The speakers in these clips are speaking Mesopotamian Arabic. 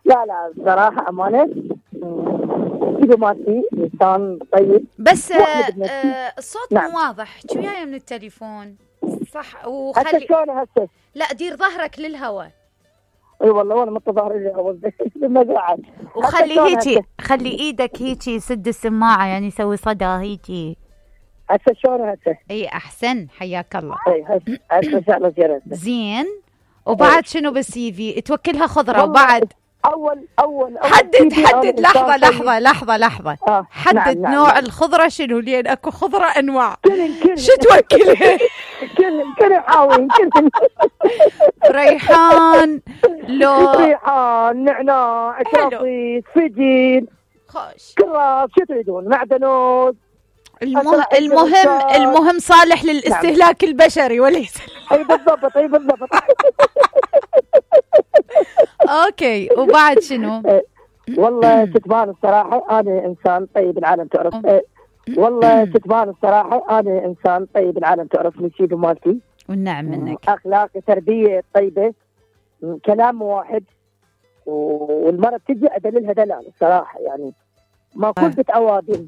لا لا بصراحة أمانة كذا مالتي إنسان طيب. بس الصوت نعم. مو واضح، شو وياي من التليفون صح؟ هسه شلون هسه؟ لا دير ظهرك للهواء. اي والله وانا مت ظهري للهواء بالمزرعة. خلي ايدك هيجي سد السماعة، يعني سوي صدى هيجي. هسه شلون هسه؟ اي احسن، حياك الله. اي هسه ان شاء الله زين. وبعد شنو بالسي في؟ توكلها خضرة. وبعد اول حدد لحظة حدد نعم. نوع الخضرة شنو؟ لين اكو خضرة انواع. شو توكلها؟ كل حاوين كل ريحان، لو ريحان، نعناع، كرفس، فجل، خوش، كراث، شو تريدون؟ معدنوس. المهم صالح للاستهلاك نعم. البشري وليس اي بالضبط اوكي. وبعد شنو؟ والله كتبان الصراحه انا انسان طيب العالم تعرف. والله كتبان الصراحه انا انسان طيب العالم تعرف من شيء مالتي والنعم منك. اخلاق، تربيه طيبه، كلام واحد، والمرأة تجي ادللها دلال الصراحه، يعني ما كنت بتأوادم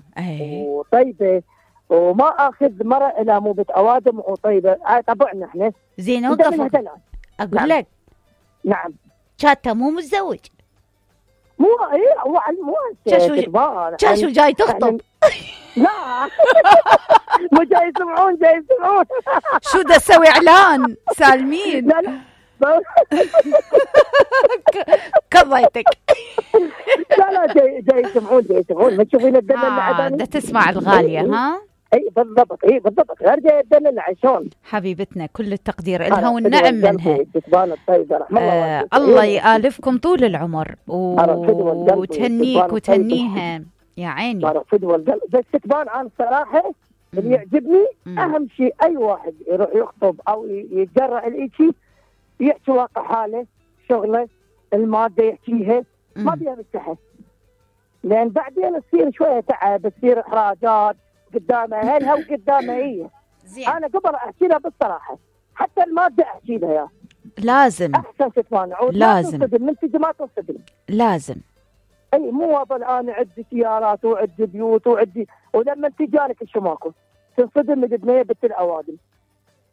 وطيبه، وما اخذ مرة الى مو بتأوادم وطيبه. طبعنا احنا زين. اوقف اقول نعم. لك نعم شاتا مو متزوج. مو شو جاي تخطب؟ لا مو جاي يسمعون شو دا تسوي اعلان سالمين؟ لا كضيتك. لا جاي يسمعون ما تشوفين الدلة دا تسمع الغالية ها؟ اي بالضبط غير جاي الدلة عشان حبيبتنا كل التقدير لها والنعم منها. الله يآلفكم طول العمر وتهنيك وتهنيها يا عيني. بس كتبان عن الصراحة اللي يعجبني أهم شيء أي واحد يروح يخطب أو يتجرأ الإشي يحكي واقع حاله، شغله، المادة يحكيها، ما بيها مستحي، لأن بعدين تصير شوية تعب، تصير إحراجات قدام أهلها وقدام هي. أنا قبل أحكي لها بالصراحة، حتى المادة أحكي لها يا لازم أحسن تتمانع، لازم من تجي ما تصدم، لازم. اي مو اظل انا عندي سيارات وعندي بيوت وعندي، ولما تجارك الشماكو تنصدم من بنيه بنت الاوادم.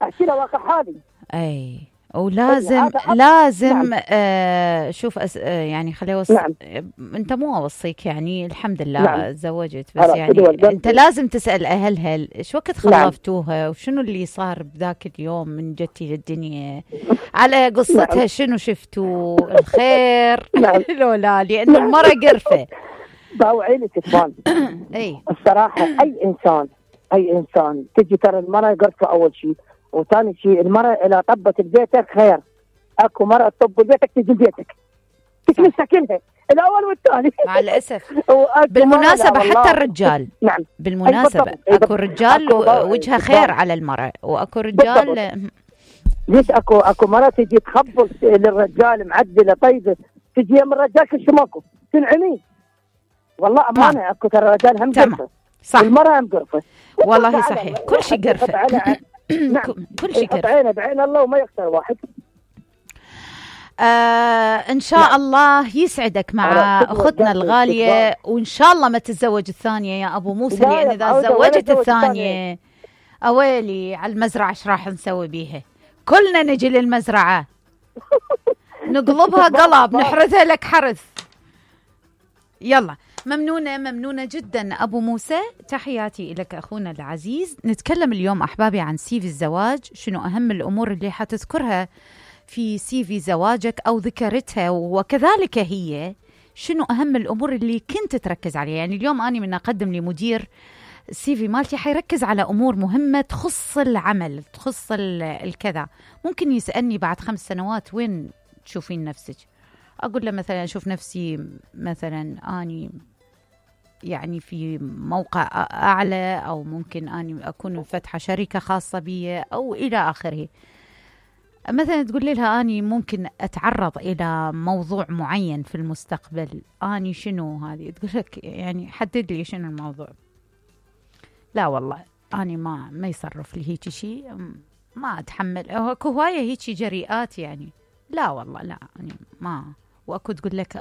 احكي لها واقع حالي. اي ولازم لازم نعم. شوف يعني خليه اوصي نعم. انت مو اوصيك يعني الحمد لله نعم. تزوجت بس يعني انت لازم تسال اهلها ايش وقت خلفتوها نعم. وشنو اللي صار بذاك اليوم من جتي للدنيا على قصتها نعم. شنو شفتوا الخير نعم. لولا لان المرأة قرفه باوعيني كتبان. اي الصراحه اي انسان تجي ترى المرأة قرفه اول شيء، وثاني شيء المرأة إذا طبت ببيتك خير. اكو مرأة تطب ببيتك تجي بيتك تكنسها كلها الاول والثاني مع الاسف. بالمناسبة حتى الرجال نعم بالمناسبة اكو رجال وجهها خير على المرأة، واكو رجال ليش اكو مرأة تجي تخبص للرجال معدلة طيبة، تجي يم الرجال كل ماكو تنعمي. والله امانة اكو ترى الرجال هم قرفة صح، المرأة هم قرفة والله صحيح، كل شيء قرفة نعم. كل شيء قرفة. عينه بعين الله وما يخسر واحد. ان شاء الله يسعدك مع اختنا الغالية، وان شاء الله ما تتزوج الثانية يا ابو موسى، لان اذا تزوجت الثانية اويلي على المزرعة ايش راح نسوي بيها؟ كلنا نجي للمزرعة نقلبها قلب نحرثها لك حرث. يلا ممنونة جدا أبو موسى، تحياتي لك أخونا العزيز. نتكلم اليوم أحبابي عن سيفي الزواج، شنو أهم الأمور اللي حتذكرها في سيفي زواجك أو ذكرتها، وكذلك هي شنو أهم الأمور اللي كنت تركز عليها. يعني اليوم أنا من أقدم لمدير السيفي مالتي حيركز على أمور مهمة تخص العمل، تخص الكذا. ممكن يسألني بعد 5 سنوات وين تشوفين نفسك؟ أقول له مثلا أشوف نفسي مثلا أني يعني في موقع أعلى، أو ممكن أني أكون فاتحة شركة خاصة بي أو إلى آخره. مثلا تقول لها أني ممكن أتعرض إلى موضوع معين في المستقبل، أني شنو هذه؟ تقول لك يعني حدد لي شنو الموضوع. لا والله أني ما يصرف لي هيك شيء، ما أتحمل. أكو هواية هيك جريئات يعني، لا والله لا يعني ما. واكو تقول لك